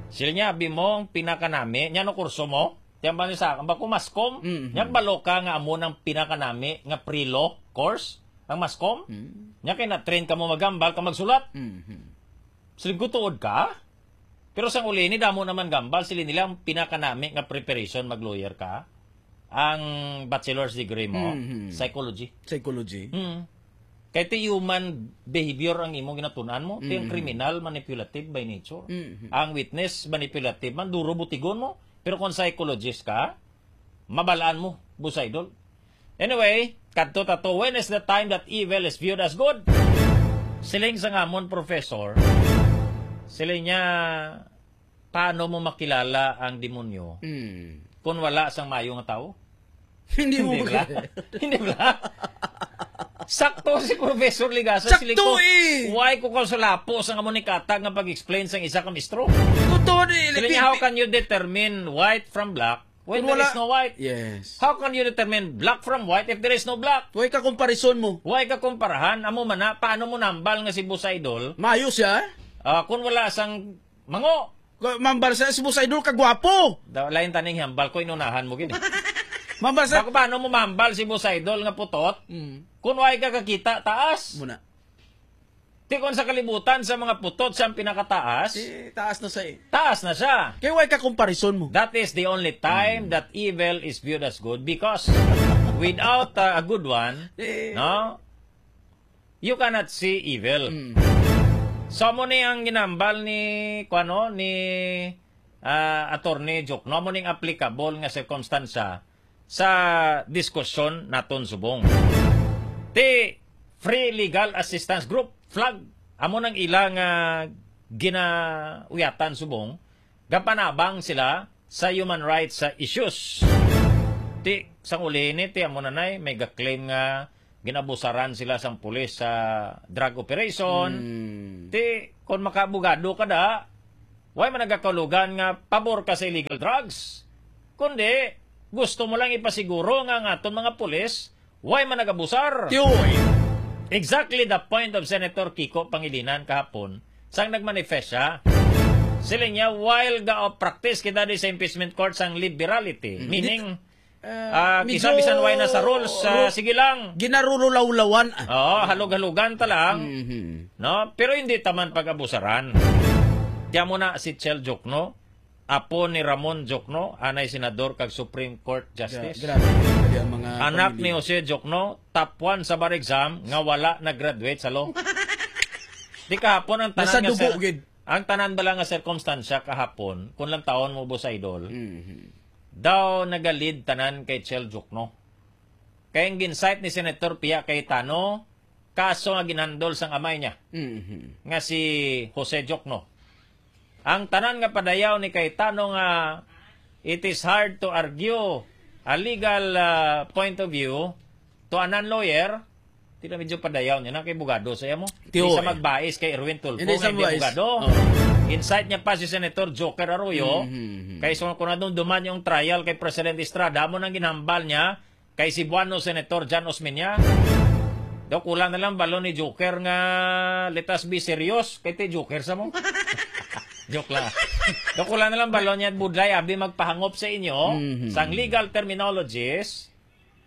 Sila niya, abi mo, ang pinakanami. Niya, no kurso mo? Tiyan ba niya sa, ang bako maskom? Mm, Niya, mm. balo ka nga amo ng pinakanami nga pre-law course? Ang maskom? Mm. Niya, kay na-train ka mo maghambal ka magsulat. Mhm. Siling ko tuod ka? Pero sang uli ni damo naman gambal, sili nila ang pinakanami nga preparation mag-lawyer ka, ang bachelor's degree mo, Mhm. psychology. Psychology. Hmm. Kay ti human behavior ang imong ginatunan mo, ti ang Mhm. criminal manipulative by nature. Mhm. Ang witness manipulative man, duro butigon mo. Pero kung psychologist ka, mabalaan mo, Boss Idol. Anyway, kadto ta to, when is the time that evil is viewed as good? Siling sa ngamon, Professor, siling niya, paano mo makilala ang demonyo Mm. kung wala sang mayo nga tao? Hindi mo Hindi bala? makilala. Hindi bala? Sakto si Professor Ligasa. Sakto Siling ko, eh! Why ko ka sulapo sa nga mo ni katag nga pag-explain sang isa ka mistro? Totoo ni Siling niya, how can you determine white from black when Kung there wala- is no white? Yes. How can you determine black from white if there is no black? Way ka comparison mo. Why ka kumparahan? Amo man na, paano mo nambal nga si Boss Idol? Mayo siya. Ah, kung wala sang mango, Mambal sa si Boss Idol, kagwapo. Da, lain taning hambal ko, inunahan mo gini. Mambal sa... Bako paano mo mambal si Boss Idol nga putot? Mm. Kung way ka kakita, taas. Muna. Ti kung sa kalibutan, sa mga putot, siya ang pinakataas. Eh, taas na sa eh. Taas na siya. Kaya way ka comparison mo. That is the only time that evil is viewed as good because without uh, a good one, Eh. no, you cannot see evil. Mm. So, amo ni ang ginambal ni, kuano, ni, ah, Attorney Jokno. Amo ning applicable nga sirkumstansya sa diskusyon naton subong. Ti Free Legal Assistance Group, FLAG, amo nang ila nga ginauyatan subong, gapanabang sila sa human rights sa issues. Ti, sang uli ni, ti amo na nay, may ga-claim nga ginabusaran sila sang pulis sa drug operation. Hmm. Ti, kung makaabogado ka da, way man nagakaulogan nga pabor ka sa illegal drugs. Kundi, gusto mo lang ipasiguro nga ang aton mga pulis, way man nagabusar. Tiyoy. Exactly the point of Senator Kiko Pangilinan kahapon, sang nagmanifest siya. Siling niya, while ga-practice kita di sa impeachment court sang liberality, Mhm. meaning, Ah, ah, medyo kisa bisan way na sa rules, ah, ru-, sige lang. Ginarurulawlawan, ah. Oo, halog-halugan ta lang. Mhm. No? Pero hindi taman pag-abusaran. Kaya mo na si Chel Jokno, apo ni Ramon Jokno, anay senador kag Supreme Court Justice. Gra-, grabe, grabe ang mga Anak pamilya. Ni Jose Jokno, top one sa bar exam, nga wala nag-graduate sa law. Di kahapon ang tanan Nasa nga dugo, sir, gid. Ang tanan bala nga sirkumstansya kahapon, kung lang taon mo, Boss Idol, Mhm. daw nagalid tanan kay Chel Jokno. Kay ang gin-cite ni Senator Pia Cayetano, kaso nga ginhandol sang amay niya, Mhm. nga si Jose Jokno. Ang tanan nga padayaw ni Cayetano nga it is hard to argue a legal, ah, point of view to a non-lawyer, tila medyo padayaw niya na kay bugado sa iya mo. Tiyo, Hindi sa eh. Magbais kay Erwin Tulfo Hindi nga sa hindi magbais. Bugado. Oo. Incite niya pa si Senator Joker Arroyo. Mhm, mhm. Kay so, kung nadumduman yung trial kay President Estrada, mo nang ginhambal niya kay Cebuano Senator John Osmeña. Daw kulang na lang balon ni Joker nga, "Let us be serious." Kay ti Joker sa mo. Joke lang. Daw kulang na lang balon niya, budlay, abi magpahangop sa inyo, Mhm. sang legal terminologies,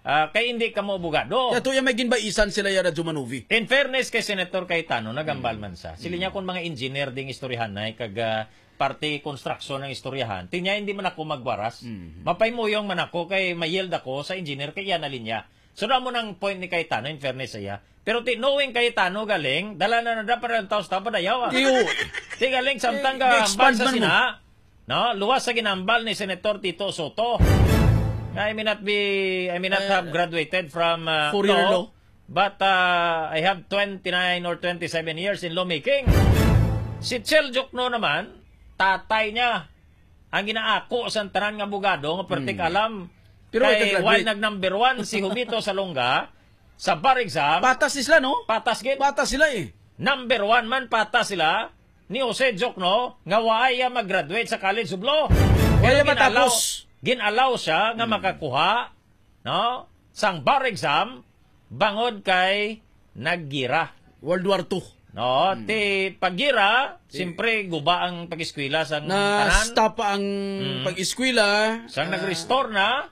ah, kay hindi ka mo abogado. Kaya to yung may ginbaisan sila ya Radyo Manuvi. In fairness kay Senator Cayetano, nagambal Mm. man sa. Sila niya Mm. kung mga engineer ding istoryahanay, kag, ah, parte construction ng istoryahan. Ti niya, hindi man ako magwaras. Mhm. Mapaymoyong man ako kay ma-yield ako sa engineer kay iya na linya. So, damo nang point ni Cayetano, in fairness sa iya. Pero ti, knowing Cayetano galing, dala na na dapat ang taos tapad ayaw, ah. Iyo. Ti galing, samtang Eh, ka i-expand sa man mo. Sina, no? Luwas sa ginambal ni Senator Tito Soto. I may not be, I may not Eh, have graduated from, uh, Four-year law, law. But, uh, I have twenty-nine or twenty-seven years in lawmaking. Si Chel Jokno naman, tatay niya, ang ginaako sa tanan nga abogado nga pertik Hmm. alam. Pero Kay nag-graduate. Why nag number one si Humito Salonga sa bar exam? Patas sila, no? Patas gid. Patas sila, eh. Number one man, patas sila ni Jose Jokno nga wala iya mag-graduate sa College of Law. Wala Pero iya gin-allow, matapos. Gin-allow siya nga Hmm. makakuha, no, sang bar exam bangod kay naggira. World War Two. No, Hmm. ti paggira, Ti- siyempre guba ang pag-eskwela sang tanan. Na-stop ang Hmm. pag-eskwela. Sang Ah. nag-restore na,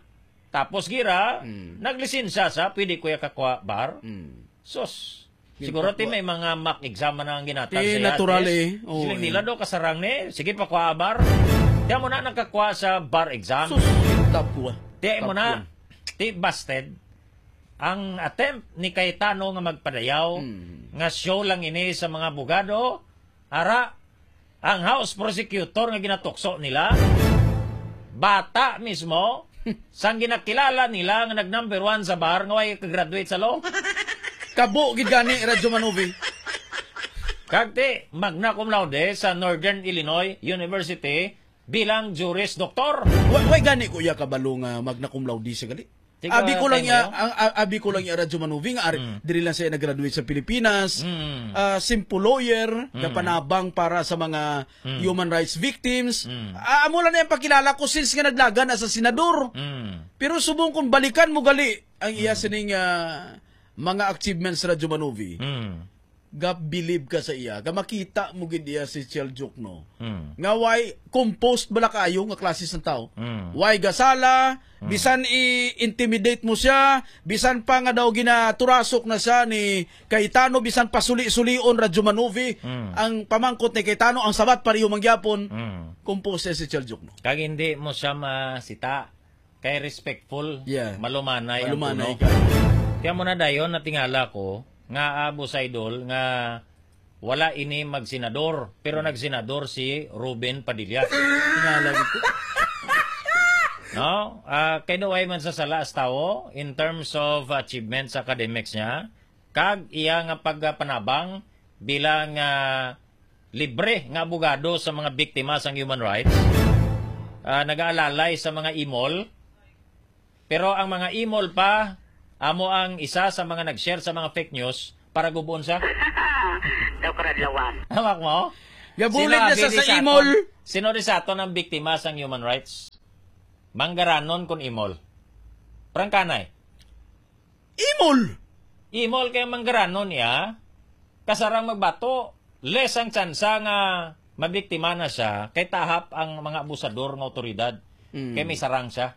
tapos gira, Hmm. naglisensya sa, pwede ko ya kakwa bar. Hmm. Sus. Yun Siguro pa ti po. May mga mock exam na ang ginatag Ti sa natural yates. Eh. Oo, Siling eh. Nila do kasarang ni, sige pa kwa bar. Kaya mo na nagkakwa sa bar exam. Sus, yung top one. Ti mo Top na, one. Ti busted. Ang attempt ni Cayetano nga magpadayaw, Mm. nga show lang ini sa mga abogado, ara, ang House Prosecutor nga ginatukso nila, bata mismo, sang ginakilala nila nga nag number one sa bar nga way ka-graduate sa law. Kabo gid gani, Radyo Manuvi. Kag ti, magna cum laude sa Northern Illinois University bilang Juris Doctor. Wa-, way gani ko iya kabalo nga magna cum laude sa gali. Sige, Abi ko lang tayo iya, mo. Ang, a-, abi ko lang iya, Radyo Manuvi, nga ari, Mm. diri lang siya nag-graduate sa Pilipinas. Mm. Ah, simple lawyer, Mm. kapanabang para sa mga Mm. human rights victims. Mm. Ah, amo lang na yung pakilala ko since nga naglaga na sa senador. Mm. Pero subong kung balikan mo gali ang iya Mm. sining, ah, mga achievements, Radyo Manuvi. Mm. Ga-believe ka sa iya, ga makita mo gid iya si Chel Jokno. Mm. Nga way composed bala kaayo nga klase sang tao. Mm. Way gasala, Mm. bisan i-intimidate mo siya, bisan pa nga daw ginaturasok na siya ni Cayetano, bisan pasuli-sulion, Radyo Manuvi, Mm. ang pamangkot ni Cayetano, ang sabat pareho man gyapon, Mm. composed siya si Chel Jokno. Kag hindi mo siya masita. Kay respectful, Yeah. malumanay ang Malumanay tunog. Ka. Kaya mo na dayon natingala ko nga, ah, Boss Idol, nga wala ini magsenador, pero nagsenador si Ruben Padilla. Tingala gid ko. No? Ah, kay daw ay man sa sala sa tawo in terms of achievements sa academics niya, kag iya nga pagpanabang bilang, ah, libre nga abogado sa mga biktima sang human rights, ah, nagaalalay sa mga imol, pero ang mga imol pa, amo ang isa sa mga nag-share sa mga fake news para gubon sa Daw karadlawan. Hawak mo? Gabulig Sino na sa, abi sa sa imol. Aton? Sino di sa aton ang biktima sang human rights? Manggaranon kun imol. Prangkanay. Imol. Imol kay manggaranon niya. Kasarang magbato. Less ang tsansa nga mabiktima na siya kay tahap ang mga abusador nga otoridad. Mm. Kay may sarang siya.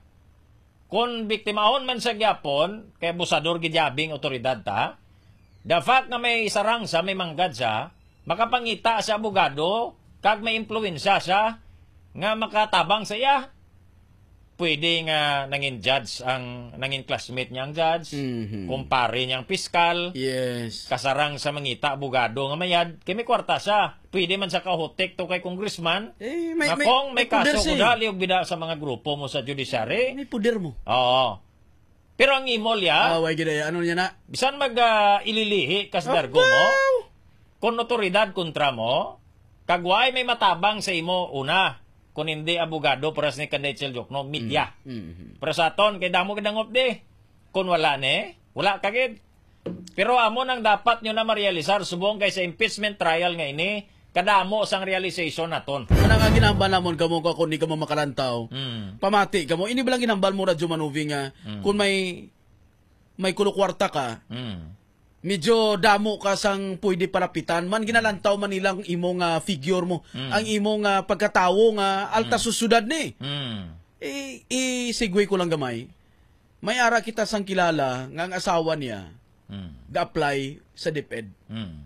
Kung biktimahon man siya gyapon, kay abusador gid yabi ang otoridad ta. The fact nga may sarang siya, may manggad siya, makapangita sa abogado, kag may impluwensya siya nga makatabang sa iya. Pwede nga nangin judge ang, nangin classmate niya ang judge, Mhm. kumpare niya ang piskal, Yes. kasarang sa mangita abogado nga mayad, kay may kwarta siya. Pwede man sa kahutik to kay congressman, Eh, may, nga may, kung may may poder kaso siya ko eh. Dali og bida sa mga grupo mo sa judiciary. May poder mo. Oo. Pero ang imol ya, Ah, way gid ay, ano niya na? Bisan mag, ah, ililihi ka sa dargo mo, Abaw! Kung otoridad kontra mo, kag way may matabang sa imo, una, kung hindi abogado para sa ni Kanday Chel Jokno, media. Mm, mm, mm. Pero sa aton, kay damo gid ang updi. Kung wala ni, wala ka gid. Pero amo nang dapat nyo na marealisar, subong kay sa impeachment trial nga ini, kadamo sang realization naton. Kana nga ginahambal namon kamo ka kung di kamo makalantaw. Mm. Pamati kamo. Ini ba lang ginahambal mo, Radyo Manuvi, nga Mm. kung may, may kulo kwarta ka, Mm. medyo damo ka sang pwede palapitan. Man, ginalantaw man nilang imo nga figure mo, Mm. ang imo nga pagkatawo nga alta Mm. sa syudad ni. Mm. I, i-segue ko lang gamay. May ara kita sang kilala nga ang asawa niya Mm. ga-apply sa DepEd. Mm.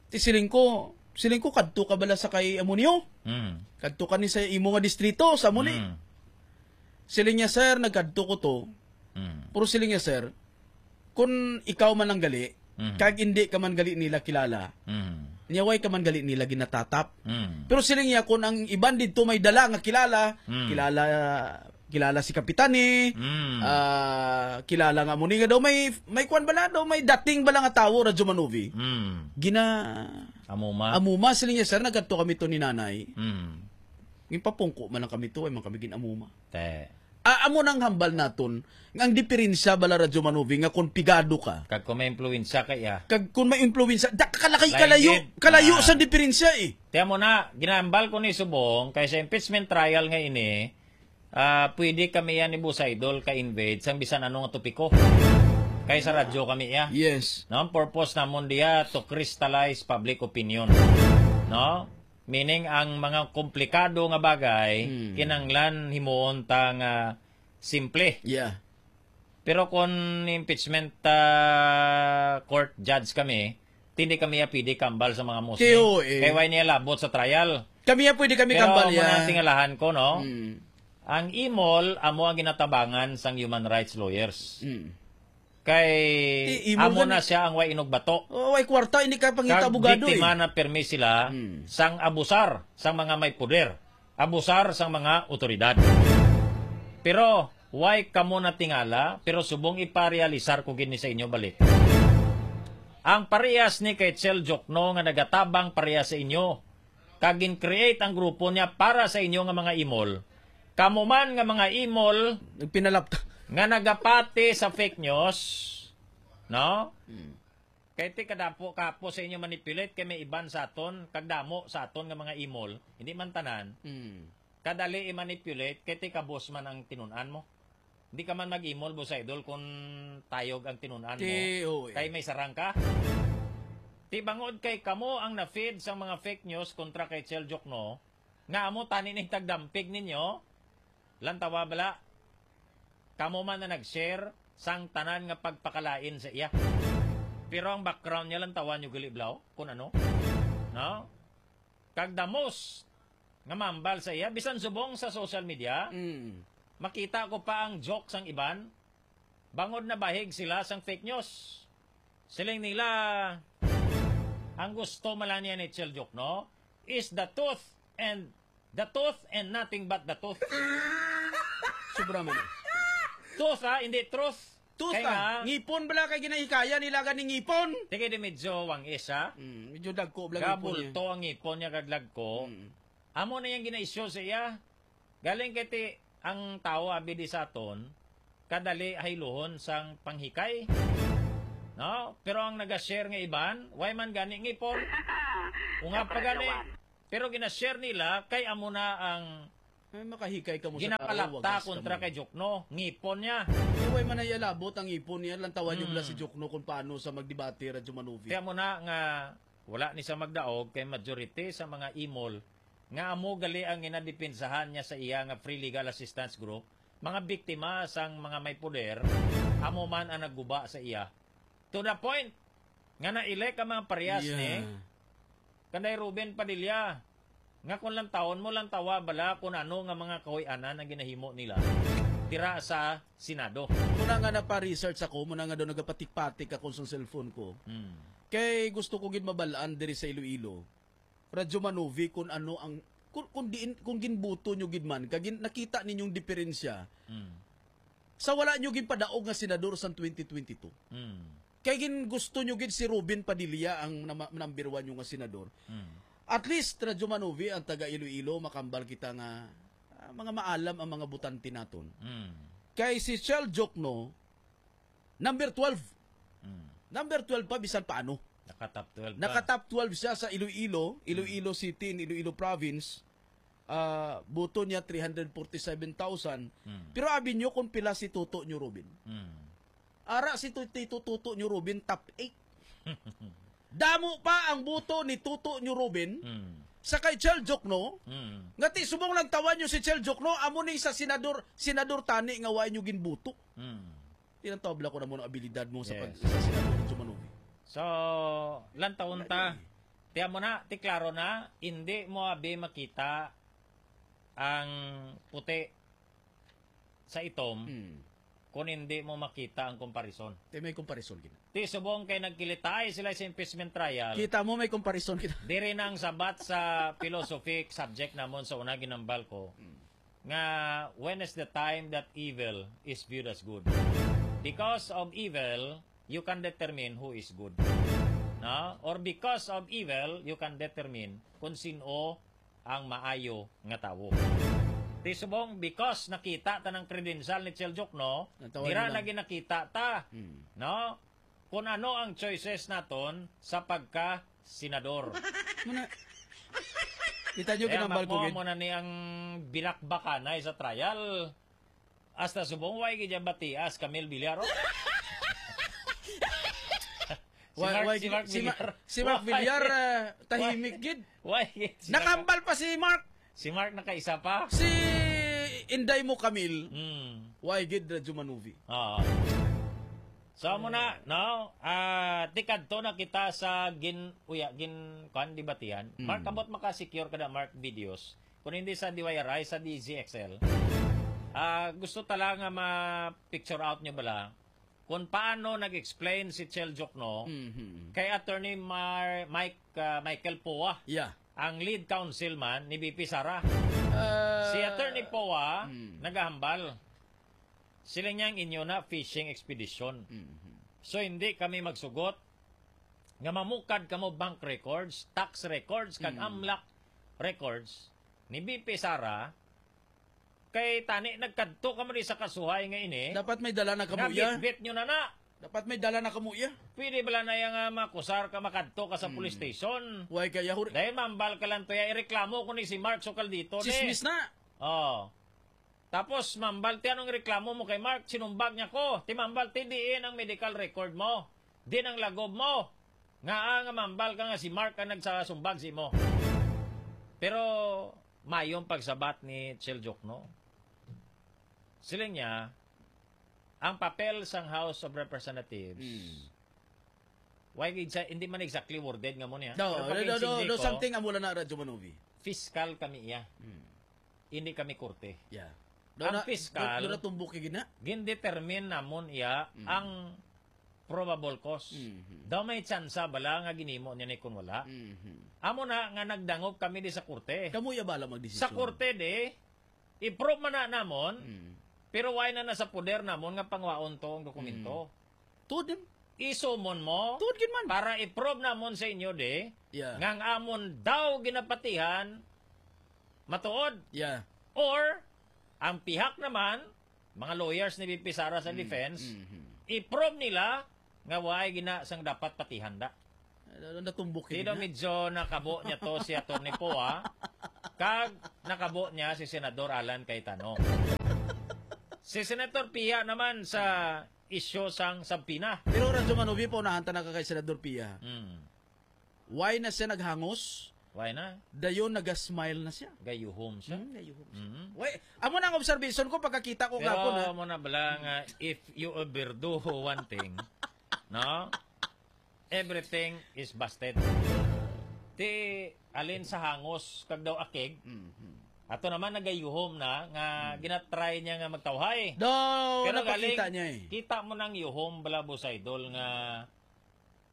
Ti siling ko, siling ko, "Kadto ka bala sa kay amo niyo? Mm. Kadto ka ni sa imo nga distrito, sa amo ni?" Mm. Siling niya, "Sir, nagkadto ko to." Mm. Pero siling niya, "Sir, kung ikaw man ang gali, Mm. kag hindi ka man gali nila kilala, Mm. niya way ka man gali nila ginatatap." Mm. Pero siling niya, kung ang iban didto may dala nga kilala, Mm. kilala, kilala si Kapitani, Mm. ah, kilala nga mo ni nga daw may, may kwan bala daw, may dating bala nga tawo, Radyo Manuvi. Mm. Gina-, Amuma. Amuma, siling niya, "Sir, nagkadto kami to ni nanay." Mm. Ginpapungko man lang kami to, ay man kami gin-amuma. Te. Ah, amo nang hambal naton, nga ang diferensya bala, Radyo Manuvi, nga kung pigado ka, Kag kung may impluwensya ka iya. kag kung may impluwensya, da ka kalaki, Lain kalayo, gid. kalayo Ah. sa diferensya eh. Tiyan mo na, ginahambal ko ni subong, kay sa impeachment trial nga ini, ah, pwede kami yan ni Boss Idol ka-invade sang bisan ano nga topiko. Kay sa radyo kami iya. Yes. No, ang purpose namon diya to crystallize public opinion. No? Meaning, ang mga komplikado nga bagay, Hmm. kinahanglan himuon ta nga simple. Yeah. Pero kung impeachment, ah, court judge kami, hindi kami ya pwede kambal sa mga Muslim. Tiyo, eh. Kay why niya labot sa trial? Kami ya pwede kami Pero kambal amo na ya. Ang tingalahan ko, no? Hmm. Ang imol, amo ang ginatabangan sang human rights lawyers. Hmm. Kay I-, imol amo gani. Na siya ang way inugbato. Oh, way kwarta, hindi ka pangita Kag abogado, biktima eh. Na permi sila Hmm. sang abusar sang mga may poder, abusar sang mga otoridad. Pero, way kamo natingala, pero subong iparealisar ko gid ni sa inyo balik. Ang parehas ni kay Chel Jokno nga nagatabang parehas sa inyo, kag gin-create ang grupo niya para sa inyo nga mga imol. Kamo man nga mga imol Nagpinalap ka. Nga nagapati sa fake news, no? Hmm. Kay ti kadapo kapo sa inyo manipulate kay may iban sa aton, kag damo sa aton nga mga imol, hindi man tanan. Hmm. Kadali i-manipulate kay ti kabos man ang tinun-an mo. Di ka man mag-imol, Boss Idol, kung tayog ang tinun-an mo. Ti, oo, eh. Kay may sarang ka. Ti bangod kay kamo ang na-feed sang mga fake news kontra kay Chel Jokno, nga amo tani ning tagdampig ninyo, lantawa bala, kamo man na nag-share sang tanan nga pagpakalain sa iya. Pero ang background niya, lantawa nyo gali, blaw, kung ano. No? Kag the most nga mambal sa iya, bisan subong sa social media, Mm. makita ko pa ang joke sang iban, bangod nabahig sila sang fake news. Siling nila, Ang gusto man lang niya ni Chel Diokno is the tooth and the tooth and nothing but the tooth. Sobra man. Tooth, ha, hindi truth. Tooth, kay ah. Nga, ngipon bala kay ginahikaya nila gani ngipon. Sige, di medyo wangis, ha? Mm, medyo dagko bala ngipon niya. Gabulto ang ngipon niya kag lagko. Mm. Amo na yang ginaisyu sa iya. Galing kay ti ang tawo abi di sa aton, kadali hayluhon sang panghikay. No? Pero ang naga-share nga iban, way man gani ngipon. Ungab pa gani. Pero gina-share nila kay amo na ang Ay, makahikay ka mo sa tawo, ginapalapta wag ka kontra mo. Kay Jokno, ngipon niya. Kay way man nayalabot ang ngipon niya, lantawan niyo bala si Jokno kung paano sa magdebate, Radyo Manuvi. Kaya mo na nga wala ni sa magdaog kay majority sa mga imol nga amo gali ang ginadepensahan niya sa iya nga Free Legal Assistance Group, mga biktima sang mga may poder, amo man ang nagguba sa iya. To the point nga na-elect ang mga parehas ni kanday Robin Padilla, nga kung lantawon mo, lantawa bala kung ano nga mga kahuy-anan ang ginahimo nila dira sa Senado. Muna nga napa-research ako, muna nga daw nagapatik-patik ako sa cellphone ko. Hmm. Kay gusto ko gid mabalaan diri sa Iloilo, Radyo Manovi, kung ano ang, kung, kung diin, kung ginbuto nyo gid man, kag gin-, nakita ninyong diferensya Hmm. sa wala nyo ginpadaog nga senador sang twenty twenty-two. Hmm. Kay gin gusto nyo gid si Robin Padilla ang nama-, number one nyo nga senador. Hmm. At least, Radyo Manovi, ang taga Iloilo, makambal kita nga, ah, mga maalam ang mga butante naton. Hmm. Kay si Chel Diokno, number twelve. Hmm. Number twelve pa, bisan paano. Naka-top twelve pa. Naka-top twelve siya sa Iloilo, Iloilo Hmm. City, in Iloilo Province. Ah, boto niya, three hundred forty-seven thousand. Hmm. Pero abi nyo kung pila si Toto nyo, Robin. Hmm. Ara si Tu-, Tito Toto nyo, Robin, top eight. Damo pa ang boto ni Toto nyo, Robin, Hmm. sa kay Chel Diokno, Hmm. nga ti subong lang tawan nyo si Chel Diokno, amo ning sa senador, senador tani nga wa nyo ginbuto. Hmm. Tinatawag lang ko na mo ang abilidad mo sa pag-, Yes. sa senador, Radyo Manovi. So, lantawon Wala ta. Niya eh. Tiyan mo na, ti klaro na, hindi mo abi makita ang puti sa itom Hmm. kung hindi mo makita ang comparison. Ti may comparison gina. Ti subong kay nagkilitay sila sa impeachment trial. Kita mo may comparison gina. Diri na ang sabat sa philosophy subject namon sa una ginambal ko. Hmm. Nga, when is the time that evil is viewed as good? Because of evil, you can determine who is good. No? Or because of evil, you can determine kung sino ang maayo nga tawo. Ti subong, because nakita ta ng credential ni Chel Diokno, Natawa dira na lang. Lagi nakita ta. Hmm. No? Kung ano ang choices naton sa pagka-senador. Muna, kita nyo, kaya ginambal ko mo, gid. Mo na ni ang binakbakanay sa trial. Hasta subong, way gid niya batias, Camille Villar, oh. Si Why, Mark, why si gid, Mark si Ma-, Villar. Si Mark Why? Villar, ah, tahimik Why? Gid. Why gid? Si Mark Nakambal pa si Mark. Si Mark nakaisa pa. Si Inday mo, Camille. Hmm. Why gid, Radyo Manovi? Oo. So, amo na, no? Ah, tikadto na kita sa gin-, uya, gin-, kuan, debatihan. Mm. Mark, kabot maka-secure ka na, Mark, videos. Kung hindi sa D Y R I, sa D Z X L. Ah, gusto ta lang nga ma-picture out nyo bala kung paano nag-explain si Chel Diokno Mhm. kay Attorney Mar-, Mike, ah, Michael Poa, Yeah. ang lead counsel man ni V P Sara. Ah, Si Attorney Poa, mm. nagahambal. Sila niyang inyo na fishing expedition. Mhm. So, hindi kami magsugot nga mamukad kamo bank records, tax records, kag Mm. amlak records ni V P Sara, kay tani nagkadto kamo di sa kasuhay nga ini, Dapat may dala na kamo, nga ya. Bitbit nyo na na. Dapat may dala na kamo, ya. Pwede bala na yang, ah, makusar ka, makadto ka sa Mm. police station? Why kaya, hur- Dahil mambal ka lang to, ya, ireklamo ko ni si Mark Sokaldito, ni. Chismis na. Oh. Tapos, mambal, ti anong reklamo mo kay Mark? Sinumbag niya ko. Ti mambal, ti diin ang medical record mo. Diin ang lagob mo. Nga, ah, nga mambal ka nga si Mark ang nagsasumbag sa imo. Pero, mayong pagsabat ni Chel Diokno. Siling niya, ang papel sang House of Representatives, Mm. why gid sa, hindi man exactly worded nga mo niya. No, Pero no, no, no, pag-insindi no, ko, something amo lang na, Radyo Manovi. Fiscal kami iya. Mm. Hindi kami korte. Yeah. Ang Doon na, piskal, doon, doon natumbok yung gina. Gindetermine namon iya Mm. ang probable cause. Mhm. Daw may tsansa bala nga ginimo niya ni kun wala. Mhm. Amo na nga nagdangop kami di sa korte. Kamo ya bala magdesisyon. Sa korte di, i-prove man na namon, Mm. pero why na nasa poder namon nga pangwaon to ang dokumento? Mm. Tuod din. Isumon mo Tuod gid man. para i-prove namon sa inyo di, Yeah. nga ang amon daw ginapatihan, matuod. Yeah. Or, ang pihak naman, mga lawyers ni V P Sara sa Mm, defense, mhm. i-prove nila nga waay gina sang dapat patihanda. Ano, natumbok Di yun daw na? medyo nakabo niya to si Attorney Poa, kag nakabo niya si Senador Alan Cayetano. Si Senator Pia naman sa isyu sang subpoena. Pero Radyo Manubi, paunahan ta na ka kay Senador Pia. Mm. Why na siya naghangos? Why na? Dayon nagasmile na siya. Gayuhom siya. Hmm, gayuhom siya. Mhm. Wait, amo na ang observation ko pagkakita ko Pero gapon, ha? amo na bala nga, if you overdo one thing, no? Everything is busted. Ti, alin sa hangos kag daw akig, Mhm. ato naman nagayuhom na nga Hmm. ginatry niya nga magtawhay. Daw, Pero napakita galing, niya eh. kita mo nang yuhom, bala, Boss Idol, nga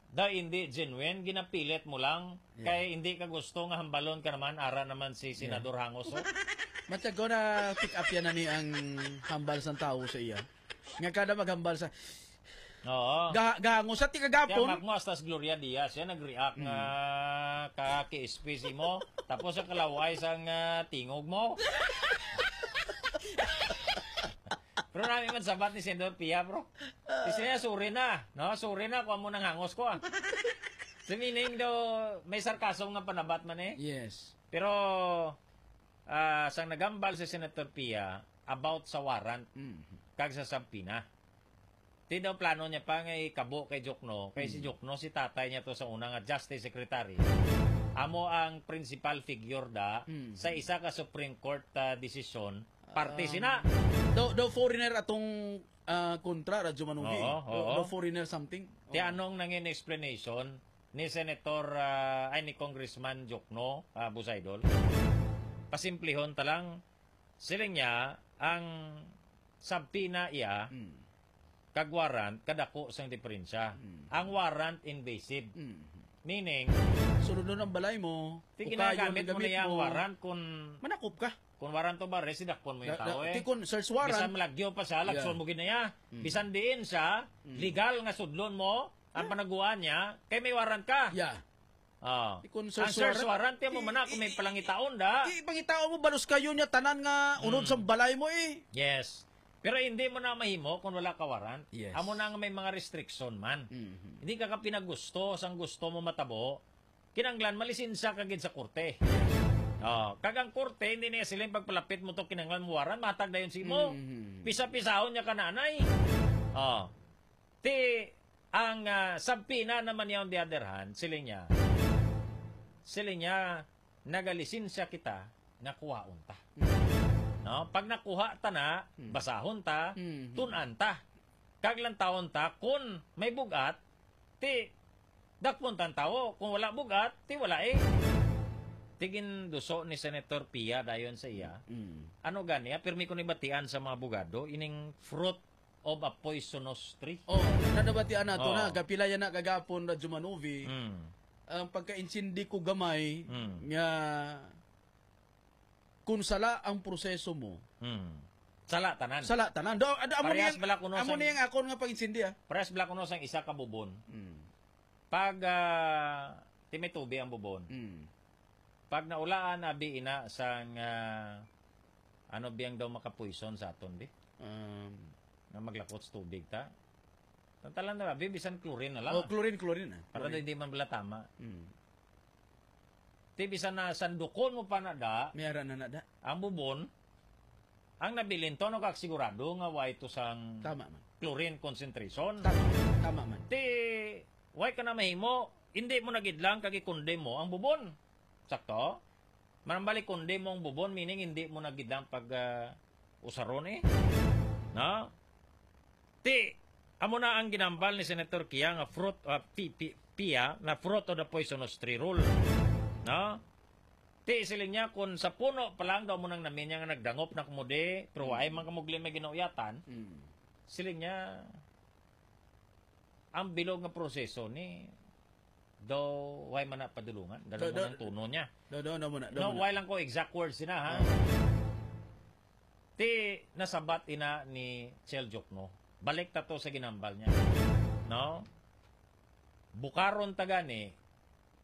daw hindi genuine, ginapilit mo lang, Yeah. kay hindi ka gusto nga hambalon ka naman, ara naman si Yeah. Senador Hangos, oh. Matag ko na pick up yan na ni ang hambal sang tawo sa iya. Nga kada maghambal sa Oo. Ga-, gango sa Kaya tigagapon. Mak mo, hasta si Gloria Diaz, siya nag-react Mm. nga ka K S P C mo, tapos ang kalaway sang, ah, tingog mo. Pero nami man sabat ni Senador Pia, bro. Kasi niya, sorry na, no? Sorry na kung amo nang hangos ko, ah. So, meaning daw, may sarcasm nga panabat man eh. Yes. Pero, ah, sang nagambal si Senator Pia about sa warrant Mm. kag sa subpoena. Ti daw plano niya pa nga ikabo kay Jokno, kay si Mm. Jokno, si tatay niya to sa una nga Justice Secretary. Amo ang principal figure da Mm. sa isa ka Supreme Court, ah, desisyon, parte Um, sina. Daw, daw foreigner atong, ah, kontra, Radyo Manuhi. Oo, Daw, oo. daw foreigner something. Ti Oo. anong nangin explanation ni Senator, ah, ay, ni Congressman Jokno, ah, Boss Idol? Pasimplihon ta lang, siling niya, ang subpoena iya, Mm. kag warrant, kadako sang diferensya. Mm. Ang warrant, invasive. Mm. Meaning, Sulod nun ang balay mo, ti ukayon ginagamit ang mo na gamit iya ang mo. warrant kung Manakop ka. Kung warrant of arrest, sidakpon mo yung Da-, da-, tao, eh. Ti kun search warrant. Bisan malagyo pa siya, lagson Yeah. mo gid na iya. Mm. Bisan diin siya, Mm. legal nga sudlon mo ang Yeah. panaguan niya, kay may warrant ka. Yeah. Oh. Ti kun Ang search search warrant, warrant, kaya mo i-, man na kung may i-, palangitaon da. i-, ipangitaon mo, balos kayo niya, tanan nga unod Mm. sa balay mo, eh. Yes. Pero hindi mo na mahimo kung wala ka warrant. Yes. Amo na nga may mga restriction man. Mhm. Hindi ka ka pinagusto, sang gusto mo matabo, kinanglan, malisensya ka gid sa korte. Oh, kag ang korte, hindi niya siling pagpalapit mo to, kinanglan mo warrant, matag dayon si mo. Mhm. Pisa-pisahon niya ka nanay. Oh. Ti, ang, ah, subpoena naman niya, on the other hand, siling niya, siling niya, nagalisensya kita nga kuhaon ta. Mhm. No? Pag nakuha ta na, Mhm. basahon ta, Mhm. tun-an ta. Kag lantawon ta, kun may bug-at, ti, dakpon tan tawo. Kung wala bug-at, ti wala eh. Ti ginduso ni Senator Pia dayon sa iya. Mm. Ano gani, ah, pirmi ko ni batian sa mga abogado, ining fruit of a poisonous tree. Oh, na-, nabatian nato Oh. na, kapila yan na kagapon, Radyo Manuvi. Mm. Ang pagka-insindi ko gamay, Mm. nga kung sala ang proseso mo, Mm. Sala tanan. sala tanan. Do, ad-, amo Parehas niyang, bala kuno amo sang niyang akon nga pag-insindi, ah. Parehas bala kuno sang isa ka bubon. Mm. Pag, ah, ti may tubi ang bubon. Mm. Pag naulaan, abi ina sang, ah, ano biyang daw makapuison sa aton, bi? Um, Nga maglakot sa tubig ta. Tantalan na, abi, bisan chlorine na lang. Oh, chlorine, chlorine, ah. Para Chlorine. daw hindi man bala tama. Mm. Ti bisan na sandukon mo pa na da, May ara na na da. ang bubon, ang nabilin to, no, kag sigurado nga way to sang Tama man. chlorine concentration. Tama, tama man. Ti, way ka na mahimo, hindi mo na gid lang kag i-condemn mo ang bubon. Sakto? Manambali, condemn mo ang bubon, meaning hindi mo na gid lang pag, ah, usaron eh. No? Ti, amo na ang ginambal ni Senator Kia nga fruit, ah, pi-, pi-, Pia, na fruit of the poisonous tree rule. No? Ti, siling niya, kung sa puno pa lang daw mo nang naminya nga nagdangop na kumudi, pero Mm. waay man kamugli may ginauyatan, Mm. siling niya, Ang bilog nga proseso ni, daw, way man na padulungan. Ganun Do, mo do, ng tono niya. Do, do, do mo na, do No, mo na. Way lang ko exact words na, ha? Ti, nasabat ina ni Chel Jokno. Balik ta to sa ginambal niya. No? Bukaron ta gani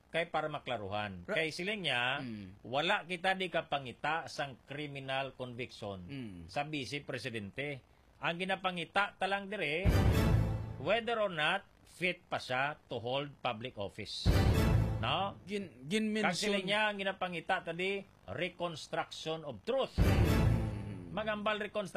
kay para maklaruhan. Ra- Kay siling niya, Mm. wala kita di kapangita sang criminal conviction Mm. sa Vice Presidente. Ang ginapangita ta lang dire, whether or not fit pa siya to hold public office. No? Gin-, gin-mention. Kag siling niya, ang ginapangita ta di, reconstruction of truth. Mm. Magambal reconstruction.